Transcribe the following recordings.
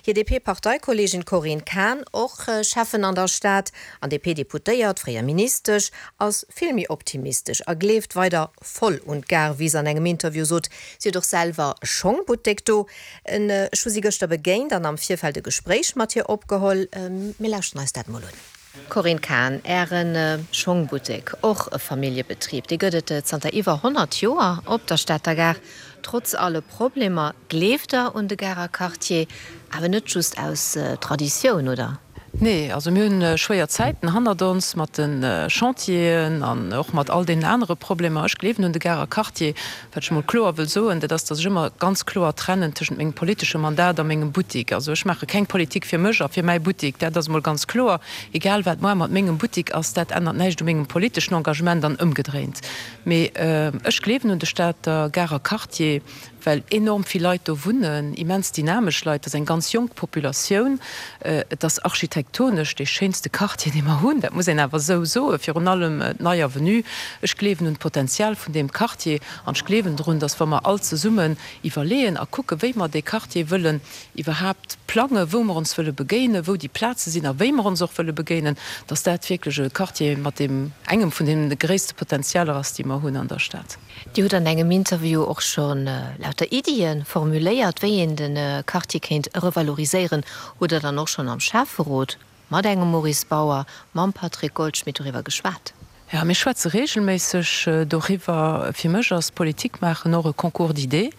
Hir DP-Parteikolleegin Corinne Cahen, och Schäffen an der Stad an DP-Deputéiert, fréier Ministesch, ass vill méi optimistesch a gleeft weider voll un d'Gare, wéi se an engem Interview sot. Si huet och selwer e Schongbuttek do. Ech hu si gëschter begéint an am Virfeld e Gespréich mat hir opgeholl. Mir lauschteren eis dat mol un. Corinne Cahen, Äre Schongbuttek, och e Familljebetrib, dee gëtt et zanter iwwer 100 Joer op der Stater Gare. Trotz alle Problemer gleeft Der un de Garer Quartier, awer net just aus Traditioun, oder? Nee, also mir hunn schwéier Zäiten hannert ons mat de Chantieren an och mat all deenen anere Problemer. Ech gleewen un de Garer Quartier. Wat ech emol kloer wëll soen, dat ass, datt ech ëmmer ganz kloer trennen tëschent mengem politesche Mandat a mengem Buttik. Also ech maache keng Politik fir mech a fir mäi Buttik, dat ass emol ganz kloer. Egal wat moar mat mengem Buttik ass, dat ännert näischt u mengem politeschen Engagement an ëmgedréint. Mee ech gleewen un de Stater Garer Quartier. well enorm vill Leit do wunnen, immens dynamesch Leit, et ass eng ganz jonk Populatioun, et ass architektonesch dee schéinste Quartier, dee mer hunn, dat muss een awer esou soen, virun allem d'Nei Avenue. Ech gleewen un d'Potenzial vun deem Quartier an ech gleewen drun, dass wa mer all zesummen iwwerleeën a kucken, wéi mer dee Quartier wëllen iwwerhaapt plangen, wou mer ons wëlle begéinen, wou déi Plaze sinn a wéi mer ons och wëlle begéinen, dass dat wierklech e Quartier mat deem engem vun deene gréisste Potenzialer ass, déi mer hunn an der Stad. Dir hutt an engem Interview och scho lauter Iddie formuléiert, wéi een de Quartier kéint revaloriséieren. Hutt Der dann och schonn am Schäfferot mat engem Maurice Bauer, mam Patrick Goldschmidt doriwwer geschwat? Jo, mir schwätze reegelméisseg doriwwer. Fir mech ass Politik maachen och e Concours d'idées,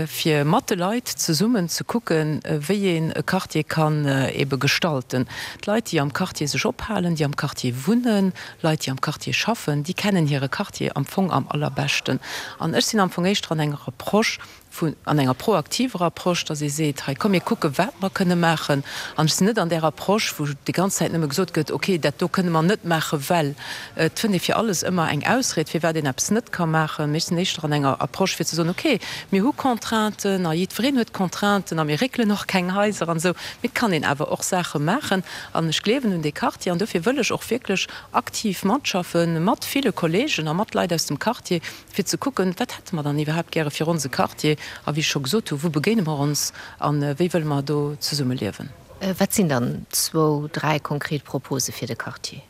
fir mat de Leit zesummen ze kucken, wéi een e Quartier kann ebe gestalten. D'Leit, déi am Quartier sech ophalen, déi am Quartier wunnen, Leit, déi am Quartier schaffen, déi kennen hire Quartier am Fong am allerbeschten. An ech sinn am Fong éischter an enger Approche vun, an enger proaktiver Approche, dass ee seet, hei komm mir kucke wat mer kënne maachen. An ech sinn net an där Approche, wou déi ganz Zäit nëmme gesot gëtt, okay, dat do kënne mer net maache well. Et fënnt ee fir alles ëmmer eng Ausried, firwat een eppes net ka maachen. Mee ech sinn éischter an enger Approche fir ze soen, okay, mir hu Contrainten a jiddwereen huet Contrainten a mir réckelen och keng Haiser an esou, mee et kann een awer och Saache maachen. An ech gleewen un dee Quartier an dofir wëll ech och wierklech aktiv matschaffen, mat ville Kollegen a mat Leit aus dem Quartier, fir ze kucken, wat hätte mer dann iwwerhaapt gäre fir onse Quartier a wéi ech scho gesot hu, wou begéine mer ons a wéi wëlle mer do zesummeliewen. Wat sinn dann zwou, dräi konkret Propose fir de Quartier?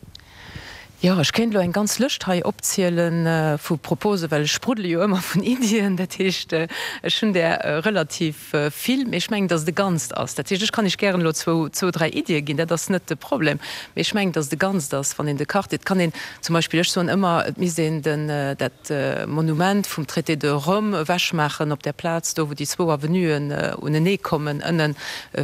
Jo, ech kéint elo eng ganz Lëscht hei opziele vu Proposen, well ech spruddele jo ëmmer vun Iddien. Dat heescht, ech hunn där relativ vill, mee ech mengen, datt et e Ganzt ass. Dat heescht, ech kann Iech gären elo zwou, zwou, dräi Iddie ginn, dat ass net de Problem, mee ech mengen, datt et e Ganzt ass, wann een de Quartier, et kann een zum Beispill, ech soen ëmmer, et misst een den, dat Monument vum Traité de Rome ewechmaachen op där Plaz do, wou déi zwou Avenuen uneneekommen, ënnen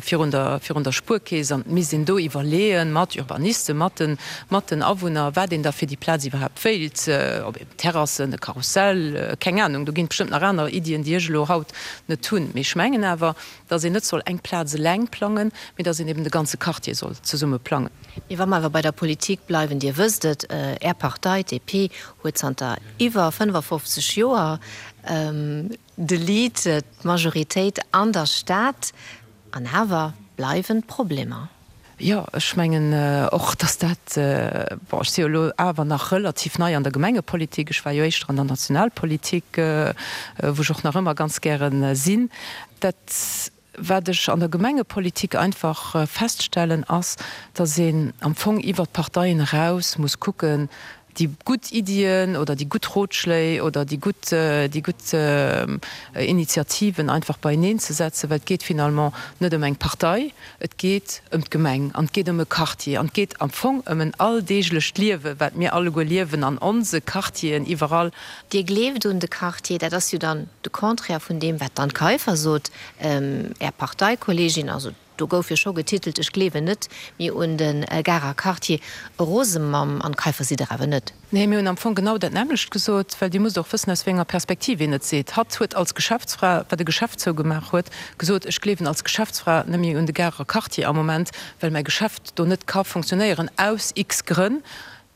virun der, virun der Spuerkeess, an et misst een do iwwerleeën, mat Urbanisten, mat den, mat den Awunner, wat een da fir déi Plaz iwwerhaapt wéilt, ob een Terrassen, e Karussell, keng Anung, do ginn et bestëmmt nach aner Iddien, déi ech elo haut net hunn. Mee ech mengen awer, dass een net soll eng Plaz eleng plangen, mee dass een eben de ganze Quartier soll zesumme plangen. Mee wa mer awer bei der Politik bleiwen, Dir wësst et, Är Partei, d'DP, huet zanter iwwer 55 Joer de Lead, d'Majoritéit an der Stad, an awer bleiwen d'Problemer. Jo, ech mengen och, dass dat, bon, ech si jo elo awer nach relativ nei an der Gemengepolitik, ech war jo éischter an der Nationalpolitik, wou ech och nach ëmmer ganz gäre sinn. Dat, wat ech an der Gemengepolitik einfach feststellen, ass, dass een am Fong iwwert d'Parteien eraus muss kucken, déi gutt Iddien oder déi gutt Rotschléi oder déi gutt, déi gutt Initiativen einfach beieneen ze setzen, well et geet finalement net ëm eng Partei, et geet ëm d'Gemeng an et geet ëm e Quartier an et geet am Fong ëm en alldeeglecht Liewe wat mir alleguer liewen an onse Quartieren iwwerall. Dir gleeft un de Quartier, dat ass jo dann de Contraire vun deem wat d'Anne Kaiffer sot, Är Parteikolleegin, also Do gouf jo scho getitelt, Ech gleewen net méi un de Garer Quartier. Rose mam Anne Kaiffer sidd Der awer net. Nee, mir hunn am Fong genau dat nämmlecht gesot, well Dir musst och wëssen, aus wéi enger Perspektiv een et seet. Hatt huet als Geschäftsfra, wat e Geschäft zougemaach huet, gesot, Ech gleewen als Geschäftsfra net méi un de Garer Quartier am Moment, well mäi Geschäft do net ka funktionéieren, aus x Grënn,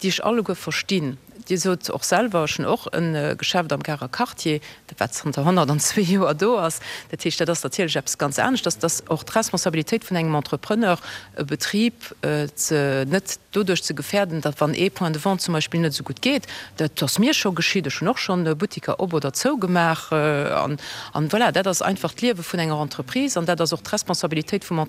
déi ech alleguer verstinn. Dir sot och selwer, ech hunn och e Geschäft am Garer Quartier, dat wat zanter 102 Joer do ass. Dat heescht, dat ass natierlech eppes ganz aneschters. Et ass och d'Responsabilitéit vun engem Entrepreneur, e Betrib ze net doduerch ze gefäerden, datt wann ee Point de vente zum Beispill net esou gutt geet, dat ass mir scho geschitt, ech hunn och schonn Buttiker op oder zougemaach, an, an voilà, dat ass einfach d'Liewe vun enger Entreprise an dat ass och d'Responsabilitéit vum.